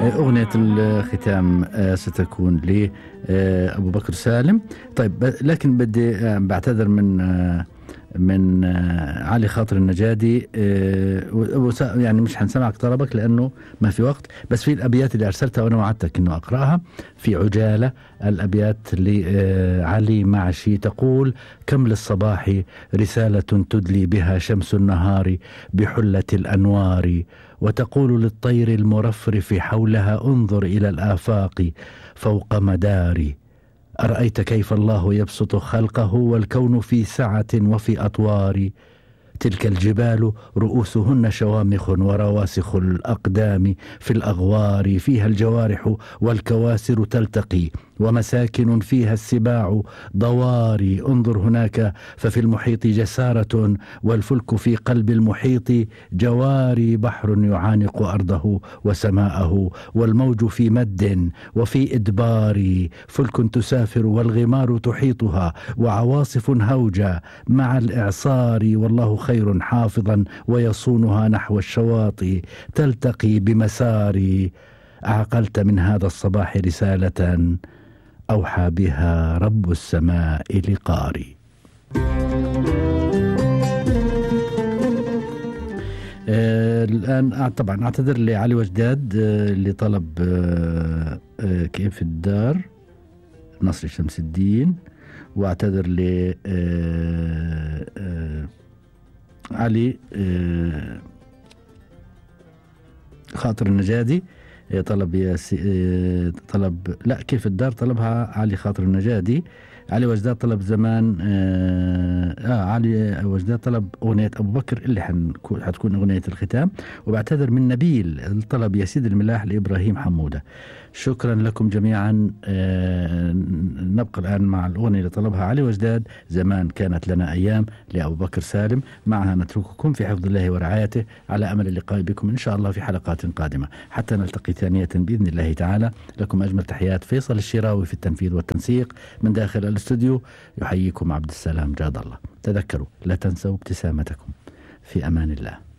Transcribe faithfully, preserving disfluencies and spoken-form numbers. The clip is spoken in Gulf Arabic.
أغنية الختام ستكون لأبو بكر سالم. طيب لكن بدي بعتذر من من علي خاطر النجادي، يعني مش حنسمعك طلبك لأنه ما في وقت، بس في الأبيات اللي أرسلتها وأنا وعدتك أنه أقرأها في عجالة. الأبيات لعلي معشي تقول: كم للصباح رسالة تدلي بها شمس النهار بحلة الأنوار، وتقول للطير المرفرف حولها: انظر إلى الآفاق فوق مداري. أرأيت كيف الله يبسط خلقه والكون في سعة وفي أطوار، تلك الجبال رؤوسهن شوامخ ورواسخ الأقدام في الأغوار، فيها الجوارح والكواسر تلتقي ومساكن فيها السباع ضواري. انظر هناك ففي المحيط جسارة والفلك في قلب المحيط جواري، بحر يعانق أرضه وسماءه والموج في مد وفي إدبار، فلك تسافر والغمار تحيطها وعواصف هوجة مع الإعصار، والله خير حافظا ويصونها نحو الشواطئ تلتقي بمساري. أعقلت من هذا الصباح رسالة أوحى بها رب السماء لقاري. آه الآن طبعا أعتذر لعلي وجداد آه اللي طلب آه آه كيف الدار نصر شمس الدين، واعتذر ل آه آه علي آه خاطر النجادي طلب يا سي... طلب لا كيف الدار طلبها علي خاطر النجادي. علي وجداد طلب زمان آه, آه علي وجداد طلب أغنية أبو بكر اللي حنكون حتكون أغنية الختام. وبعتذر من نبيل الطلب يا سيد الملاح لإبراهيم حمودة. شكرا لكم جميعا. آه نبقى الآن مع الأغنية اللي طلبها علي وجداد، زمان كانت لنا أيام لأبو بكر سالم. معها نترككم في حفظ الله ورعايته، على أمل اللقاء بكم إن شاء الله في حلقات قادمة حتى نلتقي ثانية بإذن الله تعالى. لكم أجمل تحيات فيصل الشراوي في التنفيذ والتنسيق من داخل الاستوديو. يحييكم عبد السلام جاد الله. تذكروا لا تنسوا ابتسامتكم. في أمان الله.